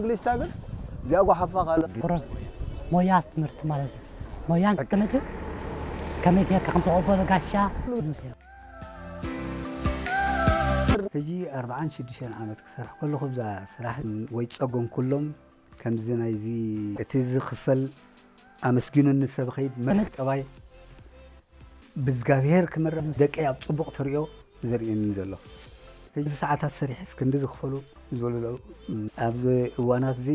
እግሊስታ ግን እዚኣ ጓሓፋ ካለ ቁሩብ ሞያ ትምህርቲ ማለት እዩ። ሞያ ትምህርቲ ከመይ ጌርካ ከም ትቕበሎ ጋሻ ሕጂ ኣርባዓን ሽዱሽተን ዓመት ክሰርሕ ከለኹ ብዛ ስራሕ ወይ ጸጎም ኩሎም ከምዚ ናይዚ እቲ ዝኽፈል ኣመስጊኑኒ ሰብ ኸይድ መጠባይ ብዝጋብሄር ክምረ ደቀይ ኣብ ጽቡቕ ትሪኦ ዘርእየኒ ዘሎ ሕጂ ሰዓታት ሰሪሕስ ክንዲ ዝኽፈሉ ዝበሉ ኣለዉ። ኣብዚ እዋናት እዚ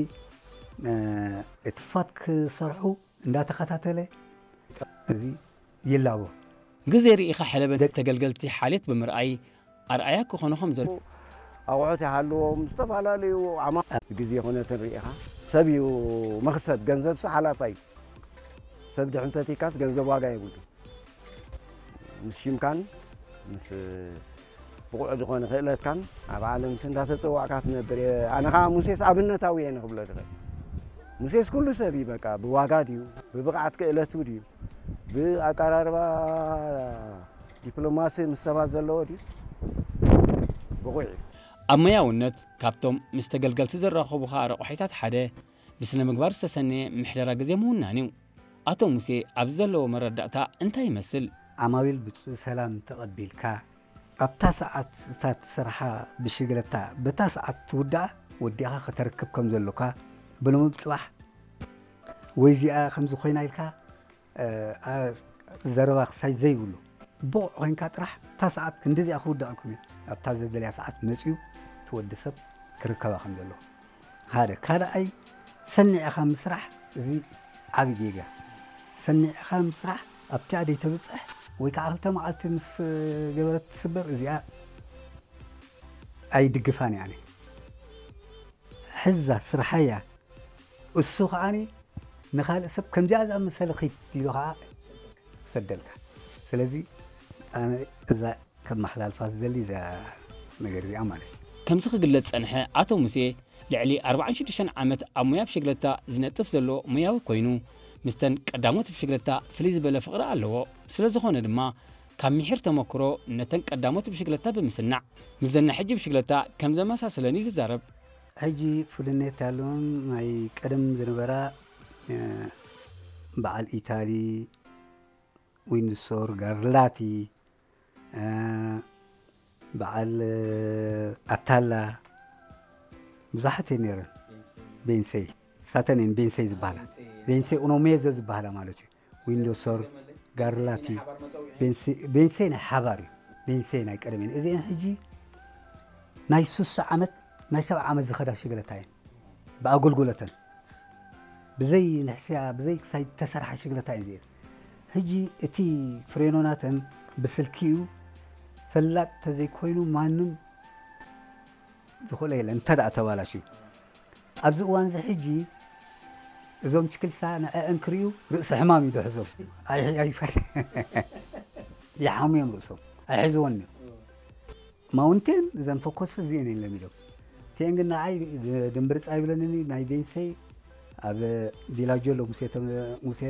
እቲ ፋት ክሰርሑ እንዳተኸታተለ እዚ ይላቦ። ግዜ ርኢኻ ሕለበት ተገልገልቲ ሓልየት ብምርኣይ ኣርኣያ ክኾኑ ከም ዘሎ ኣቑሑት ይሃልዎም ዝተፈላለዩ ዓማ ግዜ ኩነትን ርኢኻ ሰብ እዩ መኽሰብ ገንዘብሲ ሓላፋ እዩ ሰብ ድሕን ፈቲካስ ገንዘብ ዋጋ የብሉ ምስ ሽምካን ምስ ብቑዕ ዝኾነ ክእለትካን ኣብ ዓለምሲ እንዳተፀዋዕካ ትነብር እየ ኣነ ከዓ ሙሴስ ኣብነታዊ እየ ንክብሎ ዝኽእል ሙሴስ ኩሉ ሰብ እዩ በቃ ብዋጋ ድዩ ብብቕዓት ክእለቱ ድዩ ብኣቀራርባ ዲፕሎማሲ ምስ ሰባት ዘለዎ ድዩ ብቑዕ እዩ ኣብ መያውነት ካብቶም ምስ ተገልገልቲ ዝራኸቡኻ ረቑሒታት ሓደ ብስነ ምግባር ዝተሰነየ ምሕደራ ግዜ ምውናን እዩ ኣቶ ሙሴ ኣብዚ ዘለዎ መረዳእታ እንታይ ይመስል ዓማዊል ብፁዕ ሰላም ተቐቢልካ ኣብታ ሰዓት እታ ትሰርሓ ብሽግለታ በታ ሰዓት ትውዳኣ ወዲኻ ከተርክብ ከም ዘሎካ ብልሙብ ፅባሕ ወይ እዚኣ ከምዚ ኮይና ኢልካ ዘረባ ክሳይ ዘይብሉ ብቑዕ ኮይንካ ጥራሕ እታ ሰዓት ክንዲዚኣ ክውዳኣኩም እየ ኣብታ ዘደልያ ሰዓት መፅዩ ትወዲ ሰብ ክርከባ ከም ዘለዎ ሓደ ካልኣይ ሰኒዕኻ ምስራሕ እዚ ዓብዪ ጌጋ ሰኒዕኻ ምስራሕ ኣብቲኣ ደይተብፅሕ ወይ ከዓ ክልተ መዓልቲ ምስ ገበረት ትስበር እዚኣ ኣይድግፋን እያ ሕዛ ስርሓያ እሱ ከዓኒ ንኻልእ ሰብ ከምዚኣ ዝኣመሰለ ኺድ ኢሉ ከዓ ሰደልካ ስለዚ ኣነ እዛ ከመሓላልፋ ዝደሊ እዛ ነገር እዚኣ ማለት እዩ ከምዚ ክግለጽ ጸንሐ ኣቶ ሙሴ ልዕሊ ኣርባዓን ሽዱሽተን ዓመት ኣብ ሙያ ብሽግለታ ዝነጥፍ ዘሎ ሙያዊ ኮይኑ ምስተን ቀዳሞት ብሽግለታ ፍልይ ዝበለ ፍቕሪ ኣለዎ ስለ ዝኾነ ድማ ካብ ምሒር ተመክሮ ነተን ቀዳሞት ብሽግለታ ብምስናዕ ምስዘን ናይ ሕጂ ብሽግለታ ከም ዘመሳሰለን እዩ ዝዛረብ ሕጂ ፍልነት ያለውን ናይ ቀደም ዝነበራ በዓል ኢታሊ ዊንድሶር ጋርላቲ በዓል ኣታላ ብዙሓት እየ ነይረን ቤንሰይ ሳተን እየን ቤንሰይ ዝበሃላ ቤንሰይ ኡኖሜዞ ዝበሃላ ማለት እዩ ዊንዶሶር ጋርላቲ ቤንሰይ ናይ ሓባር እዩ ቤንሰይ ናይ ቀደም እየን እዚአን ሕጂ ናይ ሱሳ ዓመት ናይ ሰብዓ ዓመት ዝኸዳ ሽግለታ እየን ብኣገልግሎተን ብዘይ ንሕስያ ብዘይ ክሳይ ተሰርሓ ሽግለታ እየን እዚአን ሕጂ እቲ ፍሬኖ ናተን ብስልኪ እዩ ፈላጥ ተዘይኮይኑ ማንም ዝኽእሎ የለን እንተ ደኣ ተባላሽዩ ኣብዚ እዋን እዚ ሕጂ እዞም ችክልሳ ንዕአን ክርእዩ ርእሲ ሕማም እዩ ዝሕዞም ይሓሙ እዮም ርእሶም ኣይሕዝዎን እዮም ማውንቴን እዘን ፈኮስ እዚአን የለን ኢሎም እቲአን ግን ንዓይ ድንብርፅ ኣይብለንን ናይ ቤንሰይ ኣብ ቪላጆ ኣሎ ሙሴ